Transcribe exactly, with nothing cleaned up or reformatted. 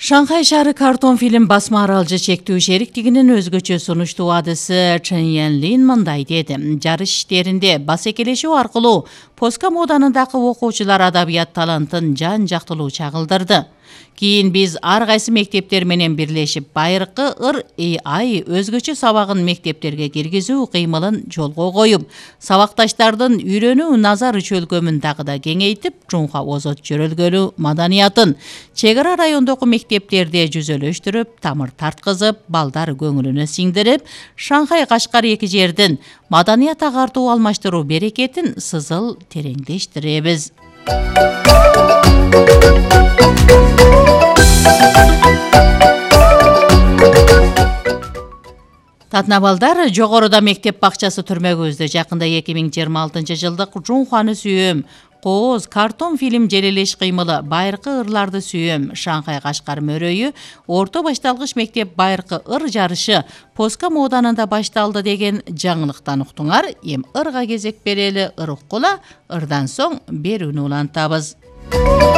Шанхай шаары картон фильм басма аралжы чектүү шериктигинин өзгөчө сунуштуу адысы Чен Янлин мындай деди. Жарыш иштеринде басекелешүү аркылуу Поска моданындагы окуучулар адабият талантын жан жактылуу чагылдырды. Кийин биз ар кайсы мектептер менен бирлешип байыркы ыр ай өзгөчө сабагын мектептерге киргизүү кыймылын жолго коюп, сабакташтардын үйрөнүү назар чөлкөмүн дагы да кеңейтип, Чунха озот жөрөлгөлүү маданиятын чек ара райондогу мектептерде жүзөлөштүрүп, тамыр тарткызып, балдар көңүлүнө сиңдирип, Шанхай Кашкар эки жердин маданият агартуу алмаштыруу берекетин сызыл тереңдештиребиз. Татнабалдар, жогоруда мектеп бакчасы түрмөгүбүздө жакында эки миң жыйырма алтынчы жылдык Чунханы сүйөм, кооз, картон фильм желелеш кыймылы байыркы ырларды сүйөм, Шанхай Кашкар мөрөйү, орто башталгыч мектеп байыркы ыр жарышы Поска моданында башталды деген жаңылыктан уктуңар. Эм ырга кезек берели, ыр уккула, ырдан соң берүүнү улантабыз.